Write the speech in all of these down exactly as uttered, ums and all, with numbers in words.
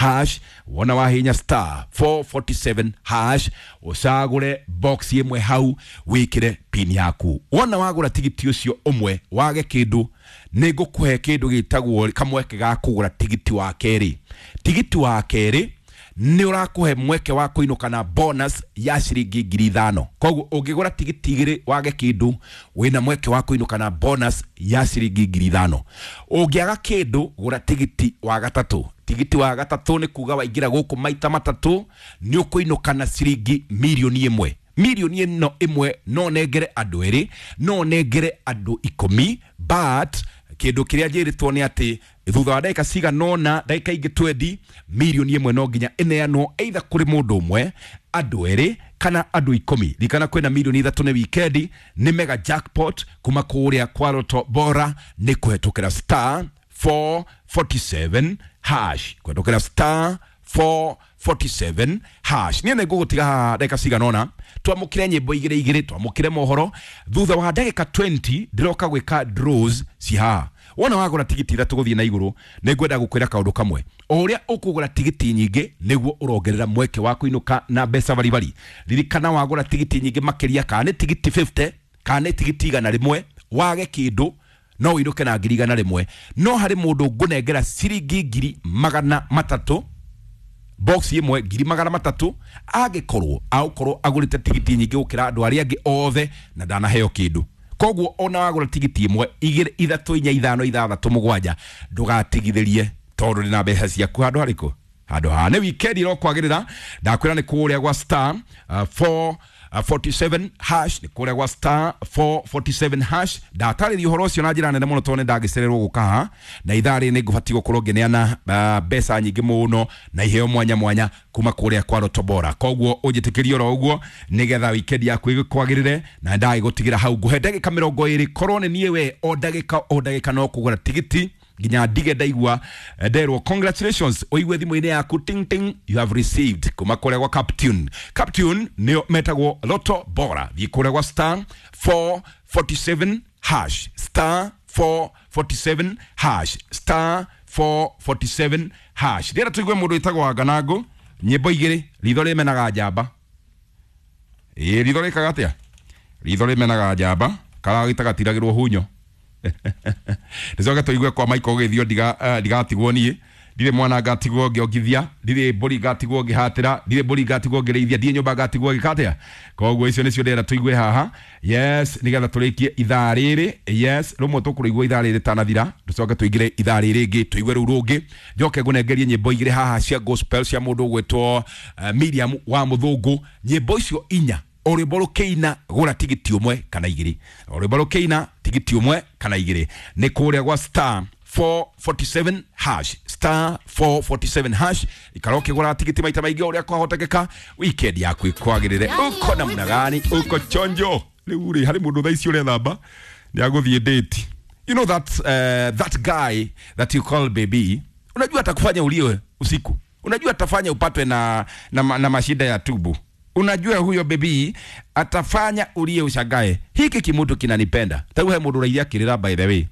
hash. Wona wahinya star four forty-seven hash, ũcagũre box ĩmwe hau wĩkĩre pin yaku. Wona wagũra tigiti ũcio ũmwe wage kĩndũ, nĩ ngũkũhe kĩndũ gĩtagwo kamweke ga kũgũra tigiti wa kerĩ. Tigiti wa kerĩ nĩ ũrakũhe mweke wa kũinũka na bonus ya ciringi ngiri ithano. Koguo ũngĩgũra tigiti igĩrĩ wage kĩndũ, wĩna mweke wa kũinũka na bonus ya ciringi ngiri ithano. Ũngĩaga kĩndũ, gũra tigiti wa gatatũ. Tigiti wa gatatũ nĩ kuga waingĩra gũkũ maita matatũ nĩ ũkũinũka na ciringi mirioni ĩmwe. Mirioni ĩno ĩmwe no nengere andũ erĩ, no nengere andũ ikũmi, but kĩndũ kĩrĩa njĩrĩtwo nĩ atĩ thutha wa ndagĩka cigana ũna, ndagĩka ingĩ twendi, mirioni ĩmwe no nginya ĩneanwo either kũrĩ mũndũ ũmwe, andũ erĩ kana andũ ikũmi. Ririkana kwĩna mirioni ithatũ nĩ wikendi, nĩ mega jackpot kuma kũrĩa kwa Lotto Bora nĩ kũhetũkĩra star four forty-seven hash, kũhetũkĩra star four forty-seven hash. Niĩ nĩ ngũgũtiga haha ndagĩka cigana ũna, twamũkĩre nyĩmbo igĩrĩ igĩrĩ, twamũkĩre mohoro. Thutha wa ndagĩka twenty ndĩroka gwĩka draws ci haha. Wona wagũra tigiti ithatũ gũthiĩ na igũrũ, nĩ ngwenda gũkwĩra kaũndũ kamwe. O ũrĩa ũkũgũra tigiti nyingĩ nĩguo ũrongerera mweke wa kũinũka na mbeca baribari. Ririkana wagũra tigiti nyingĩ makĩria, kana nĩ tigiti fifty kana nĩ tigiti igana rĩmwe, wage kĩndũ no ũinũke na ngiri igana rĩmwe. No harĩ mũndũ ngũnengera ciringi ngiri magana matatũ, box ĩmwe ngiri magana matatũ, angĩkorwo agũkorwo agũrĩte tigiti nyingĩ gũkĩra andũ arĩa angĩ othe na ndanaheo kĩndũ. Koguo ona wagũra tigiti ĩmwe, igĩrĩ, ithatũ, inya, ithano, ithathatũ, mũgwanja, ndũgatigithĩrie tondũ ndĩ na mbeca ciaku handũ harĩkũ? Handũ haha. Nĩ wikendi ĩrokwagĩrĩra. Ndakwĩra nĩ kũrĩa gwa star, uh, four forty-seven hash, nĩ kũrĩa gwa star four forty-seven hash. Ndatarĩria ũhoro ũcio na njĩra nene mũno tondũ nĩ ndagĩcererwo gũka haha, na ithaa rĩrĩ nĩ ngũbatiĩ gũkorwo ngĩneana, uh, mbeca nyingĩ mũno na iheo mwanya mwanya kuma kũrĩa kwa Lotto Bora. Koguo ũnjĩtĩkĩrie oro ũguo nĩgetha wikendi yaku ĩgĩkwagĩrĩre, na ndagĩgũtigĩra hau. Ngũhe ndagĩka mĩrongo ĩrĩ, korwo nĩ niĩ we o ndagĩka o ndagĩka no kũgũra tigiti nginya ndige ndaigua nderwo congratulations, ũigue thimũ-inĩ yaku ting ting, you have received kuma kũrĩa gwa Captune. Captune nĩo metagwo Lotto Bora. Thiĩ kũrĩa gwa star four forty-seven hash, star four forty-seven hash, star four forty-seven hash. Ndĩrenda tũigue mũndũ wĩtagwo Wanganangũ, nyĩmbo igĩrĩ, ritho rĩmenaga njamba. Ĩĩ, ritho rĩkaga atĩa? Ritho rĩmenaga njamba, karagĩta gatiragĩrwo hunyo. Nĩcoke tũigue kwa Michael Gĩthio, ndiga, ndigatigwo niĩ, ndirĩ mwana ngatigwo ngĩongithia, ndirĩ mbũri ngatigwo ngĩhatĩra, ndirĩ mbũri ngatigwo ngĩrĩithia, ndirĩ nyũmba ngatigwo ngĩka atĩa. Koguo icio nĩcio ndĩrenda tũigue haha. Yes, nĩgetha tũrĩkie ithaa rĩrĩ. Yes, rũmwe tũkũrĩigua ithaa rĩrĩ rĩtanathira, tũcoke tũingĩre ithaa rĩrĩ rĩngĩ, tũigue rũu rũngĩ. Njoke ngũnengerie nyĩmbo igĩrĩ haha cia gospel cia mũndũ ũgwĩtwo, uh, Miriam wa Mũthũngũ. Nyĩmbo icio inya, o rwĩmbo rũkĩina gũra tigiti ũmwe kana igĩrĩ, o rwĩmbo rũkĩina tigiti ũmwe kana igĩrĩ. Nĩ kũrĩa gwa star four forty-seven hash, star four forty-seven hash. Ikara ũkĩgũra tigiti maita maingĩ ũrĩa kwahotekeka, weekend yaku ĩkwagĩrĩre. Uko namna gani? Uko chonjo? Rĩu rĩ, harĩ mũndũ thaa ici ũrethamba nĩ agũthiĩ date. You know that, uh, that guy that you call baby, unajua atakufanya ulie usiku, unajua atafanya upatwe na, na, na mashida ya tubu. Unajua huyo baby atafanya ulie ushangae, hiki kimutu kinanipenda. Tau he mũndũ ũraithia kĩrĩra, by the way.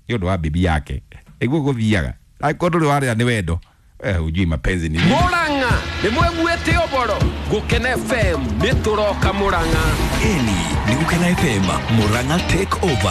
Nĩ ũndũ wa bibi yake. Ĩguo gũthiaga. Angĩkorwo ndũrĩ warĩa nĩ wendo, eh, hujui mapenzi ni nini. Murang'a nĩ mweguĩte ũboro. Gũkena F M nĩ tũroka Murang'a. Ĩni nĩ Gũkena F M, Murang'a take over.